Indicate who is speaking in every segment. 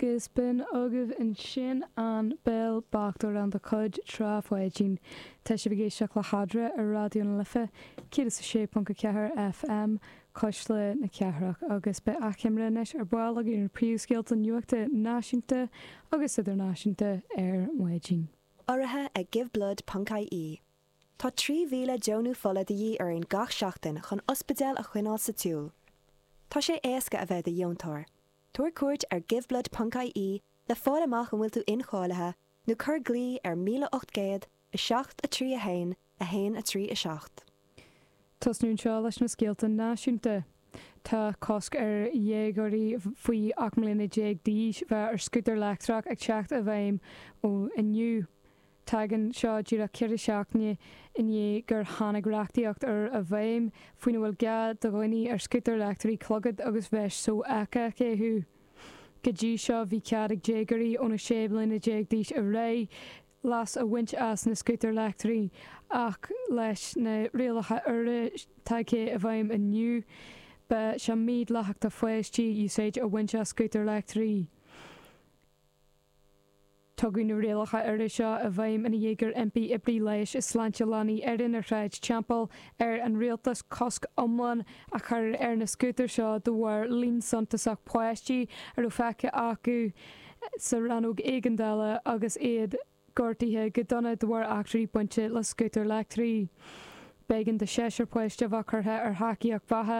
Speaker 1: Agus b'in agaibh ansin An Béal Bocht, amhrán de chuid Trá Pháidín. Tá sibh ag éisteacht le hEadra ar Raidió na Life 106.4 FM, Cuisle na Cathrach, agus beidh achoimre anois ar ball againn ar na príomhscéalta nuachta náisiúnta agus idirnáisiúnta ar maidin.
Speaker 2: Urraithe ag Giveblood ponc ie. Tá 3,000 deonú fola de dhíth orainn gach seachtain chun ospidéil a choinneáil sa tsiúl. Tá sé éasca a bheith i do dheontóir. Tabhair cuairt ar giveblood ponc ie le fáil amach an bhfuil tú incháilithe nó cuir glao ar 1800 7 3 1 1 3 7.
Speaker 1: Tosnú anseo leis na scéalta náisiúnta. Tá cosc ar dhéagóirí faoi 18 mbliana d'aois bheith ar scútar leictreach ag teacht i bhfeidhm ó inniu. Tagann seo díreach ceithre seachtaine i ndiaidh gur tháinig reachtaíocht úr i bhfeidhm faoina bhfuil gá do dhaoine ar scútair leictreacha clogad agus veist sofheicthe a chaitheamh. Go dtí seo bhí cead ag déagóirí óna 16 mbliana d'aois ar aghaidh leas a bhaint as na scútair leictreacha ach leis na rialacha úra tagtha i bhfeidhm inniu beidh sé mídhleathach do pháistí úsáid a bhaint as scútar leictreach. Tugadh na rialacha úra seo i bhfeidhm ina dhiaidh gur impigh oibrí leighis is sláinte leanaí Éireann ar Shráid Teampall ar an rialtas cosc iomlán a chur ar na scútair seo de bharr líon suntasach páistí a raibh feicthe acu sa rannóg éigeandála agus iad gortaithe go dona de bharr eachtraí bainte le scútair leictreacha. B'éigean do sheisear páiste a bheith curtha ar thacaíocht bheatha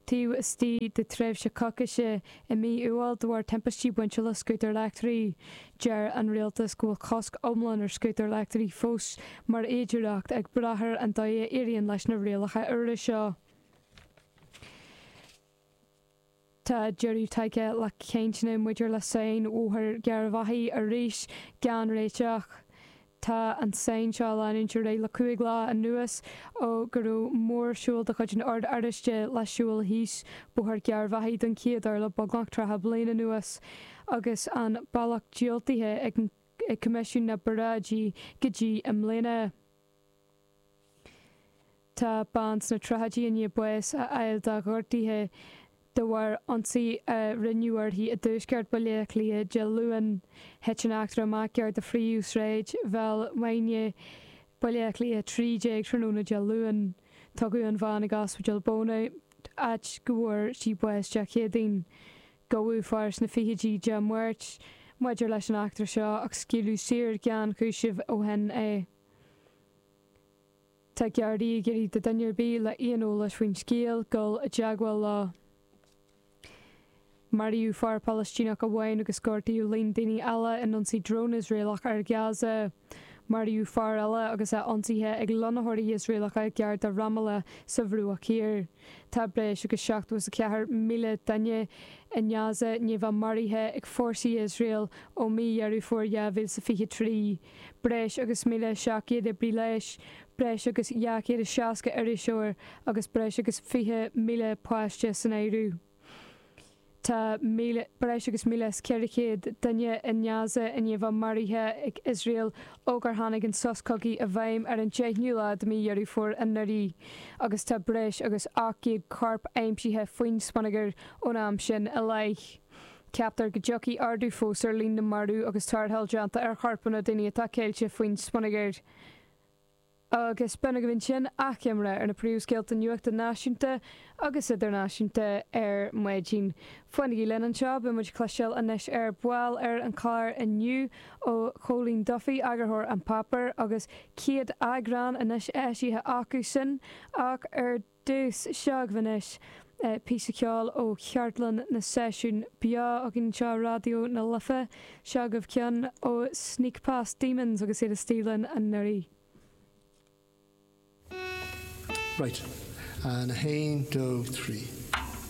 Speaker 1: taobh istigh de tréimhse coicíse i mí Iúil de bharr timpistí bainte le scútair leictreacha. Deir an rialtas go bhfuil cosc iomlán ar scútair leictreacha fós mar fhéidearthacht ag brath ar an dóigh a éiríonn leis na rialacha úra seo. Tá deireadh tagtha le cainteanna maidir le sáinn Bhóthar Gharbhachaidh arís gan réiteach. Tá an tsáinn seo ag leanúint ar aghaidh le 5 lá anuas ó go raibh mórshiúl de chuid an Oird Oráistigh le siúl thíos Bóthar Gharbhachaidh don chéad uair le beagnach 30 bliain anuas agus an bealach diúltaithe ag Coimisiún na bParáidí go dtí i mbliana. Tá bean sna tríochaidí i ndiaidh bás a fháil dá gortuithe de bharr ionsaí a rinneadh uirthi i dtuaisceart Bhaile Átha Cliath Dé Luain. Thit an eachtra amach gar do phríomhshráid Bhéal Mhuirthile, Baile Átha Cliath 13 tráthnóna Dé Luain. Tugadh an bhean ag Ospidéal Beaumont, áit go bhfuair sí bás Dé Céadaoin. Gabhadh fear sna fichidí Dé Máirt maidir leis an eachtra seo ach scaoileadh saor gan chúiseamh ó shin é. Tá Gardaí ag iarraidh do dhuine ar bith le aon eolas faoin scéal dul i dteagmháil leo. Maraíodh fear Palaistíneach amháin agus gortaíodh líon daoine eile in ionsaí drón Iosraelach ar Ghaza. Maraíodh fear eile agus é ionsaithe ag lonnaitheoirí Iosraelacha gar do Ramallah sa Bhruach Thiar. Tá breis agus 74,000 duine i nGaza i ndiaidh bheith maraithe ag fórsaí Iosrael ó mí Dheireadh Fómhair 2023. Breis agus 1,700 oibrí leighis, breis agus 260 iriseoir agus breis agus 20,000 páiste san áireamh. Tá breis agus 1,400 duine i nGaza i ndiaidh bheith maraithe ag Iosrael ó gur tháinig an sos cogaidh i bhfeidhm ar an 10ú lá de mhí Dheireadh Fómhair anuraidh agus tá breis agus 800 corp aimsithe faoin smionagar ón am sin i leith. Ceaptar go dtiocfaidh ardú fós ar líon na marbh agus tarrtháil déanta ar chorpanna daoine atá ceilte faoin smionagar. Agus b'in agaibh ansin achoimre ar na príomhscéalta nuachta náisiúnta agus idirnáisiúnta ar maidin. Fanaigí linn anseo, beidh muid ag cloisteáil anois ar ball ar an chlár inniu ó Chóilín Duffy, eagarthóir An Páipéar, agus 100 eagrán anois eisithe acu sin ach ar dtús, seo agaibh anois píosa ceoil ó chartlann na seisiún beo againn anseo i Raidió na Life. Seo agaibh ceann ó Sneak Past Demons agus iad istigh linn anuraidh.
Speaker 3: Right. And a haon, dó, trí.